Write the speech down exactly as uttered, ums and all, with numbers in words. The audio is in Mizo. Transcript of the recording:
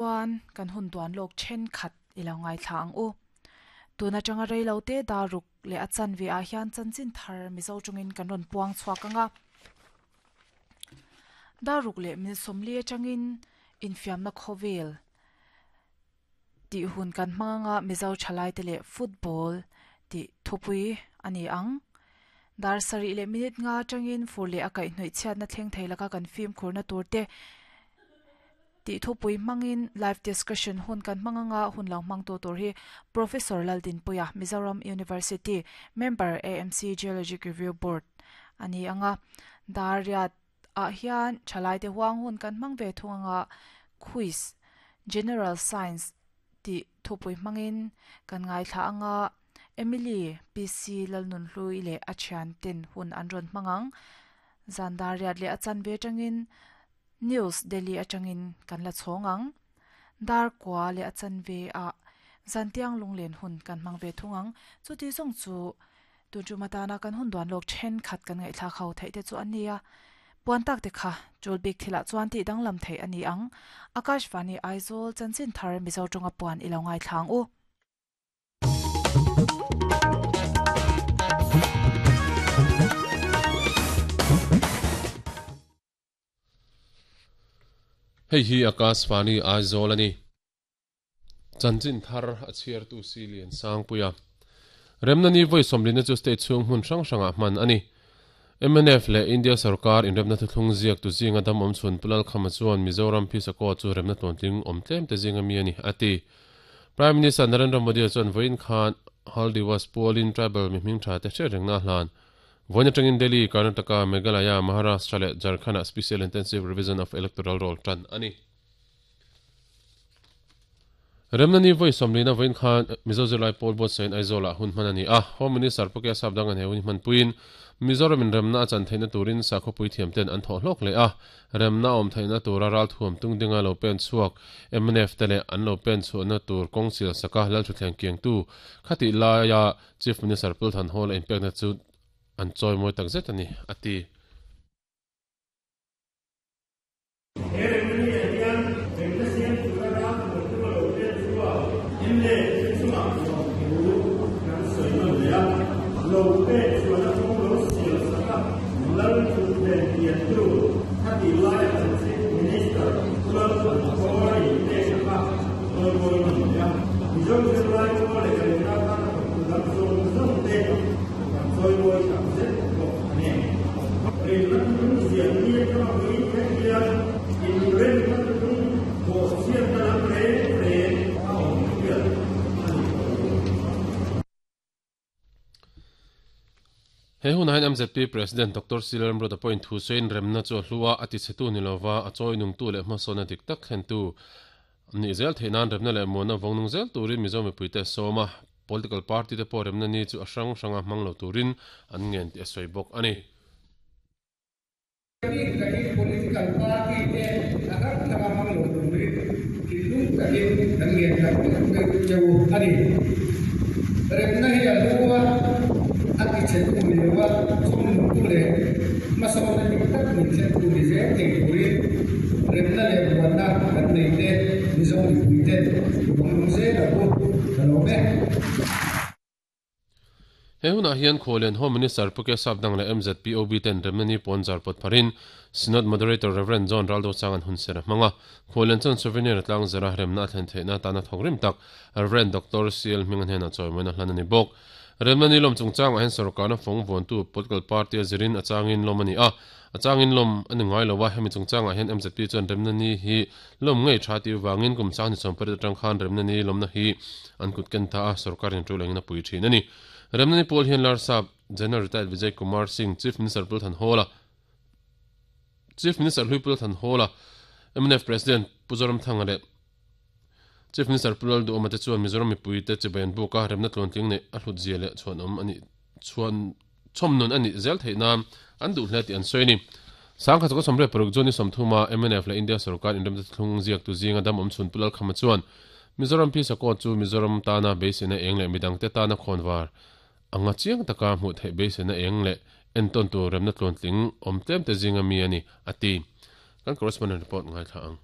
Chuan kan hun duan lawk thenkhat i lo ngaithla ang u. Tuna tanga reilo te daruk le a chanve ah hian chanchin thar Mizo tawngin kan rawn puang chhuak anga. Daruk leh min sawmli atangin infiamna khawvel tih hun kan hmang anga Mizo thalai te leh football tih thupui a ni ang. Dar sarih leh minute nga atangin fur leh a kaihhnawih chhiatna thleng thei laka kan fim khurna tur te tih thupui hmangin live discussion hun kan hmang anga hun lo hmang tu tur hi Professor Laldinpuia Mizoram University Member A M C Geologic Review Board a ni anga. Dar riat ah hian thalai te huang hun kan hmang ve thung anga quiz General Science tih thupui hmangin kan ngaithla anga Emily P C Lalnun Hlui leh a thian ten hun an rawn hmang ang. Zan dar riat leh a chanve atangin News Delhi atangin kan la chhawng ang. Dar kwa leh a chanve ah zantiang lunglen hun kan hmang ve thung ang. Chuti zawng chu tun matana kan hun duan lawk thenkhat kan ngaihthla kho theih te chu an nia. Puan tak te kha chul bik thilah chuan tih danglam thei a ni ang. Akashvani Aizawl chanchin thar Mizo tawnga puan i lo ngaithla ang u. Hei hi Akashvani Aizawl ani. Chanchin thar a chhiar tu si lian sangpuia. Remna ni voi sawmlina chu state chhung hmun hrang hrangah hman ani. M N F le India sarkar inremna thuthlung ziak tu zinga dam awm chhun Pulal Khama chuan Mizoram Phisako chu remna tluantling awm tlem te zinga mi ani ati. Prime Minister Narendra Modi chuan voin khan Haldiwas Polin tribal mi hming tha te hre rengna hlan. Voin atangin Delhi, Karnataka, Meghalaya, Maharashtra leh Jharkhand Special Intensive Revision of Electoral Roll tan ani. Remna ni voi sawmlina voin khan Mizo Zirlai Pawl Board sain Aizawl ah hun hman ani a. Home Minister Puke Sapdang an he hun hman puin Mizoram in remna a chan theihna turin sakhawpui thiam ten an thawh hlawk leh a. Remna awm theihna tura ral thuam tung dinga lo pen chhuak M N F te leh an lo pen chhuahna tur kawng sil saka lal thuthleng kiang tu khati laia Chief Minister Pulthan Hall a inpekna chu an chawi mawi tak zet ani ati. He hun hain M Z P President Doctor Silaram Roda point Hussein remna chu hlua ati chetu nilova a chawi nung tu leh hmasawna dik tak thlen tu ni zel theinan remna leh muana vawngnung zel turin Mizo mipuite sawma political party te pawh remna ni chu a hrang hranga hmang lo turin an ngen tih a sawi bawk ani. Political party te a hrang hranga hmang lo turin thinlung takin kan ngen tak cheu ani. Remna hi a hlua ati chetu nilova chhawm tu leh hmasawna dik tak min thlen tu ni zel thei turin remna leh muanna kan nei te Mizo mipuite vawngnung zel ang u. Ka lawm e. He hunah hian Khawlian Home Minister Puke Sapdang leh M Z P O B ten remna ni pawn zar pawt pharin Synod Moderator Reverend John Raldo Chang an hun ser a hmanga. Khawlian chuan souvenir tlang zara remna a thlen theihna tana thawk rim tak Reverend Doctor C L Hming an hena chawi mawina hlan ani bawk. Remna ni lawm chungchang ah hian sarkarna fawng vawntu political party a zirin a changin lawm ani a. A changin lawm ani ngai lo a hemi chungchang ah hian M Z P chuan remna ni hi lawm ngei tha ti wangin kum sang ni sawmpariat atang khan remna ni lawmna hi an kut ken ta a sarkarin tu lengin a pui thin ani. Remna ni pawl hian Larsap General Retired Vijay Kumar Singh Chief Minister Pulthan Hawla Chief Minister Hlui Pulthan Hawla M N F President Puzoram Thanga leh Chief Minister Pulal Du Omate chuan Mizoram mipui te chibayan buka remna tluantling nei a hlut zia leh chhuan awm ani chuan chhawmnun ani zel theihna an duh hle tih an sawi ani. Sangkhat chu sawmriat paruk June ni sawmthuma M N F leh India sarkar inremna thlung ziak tu zinga dam awm chhun Pulal Khama chuan Mizoram Phisako chu Mizoram tana beiseina eng leh midang te tana khawnvar anga chiang taka hmuh theih beiseina eng leh enton tu remna tluantling awm tlem te zinga mi ani ati. Kan correspondent report ngaithla ang.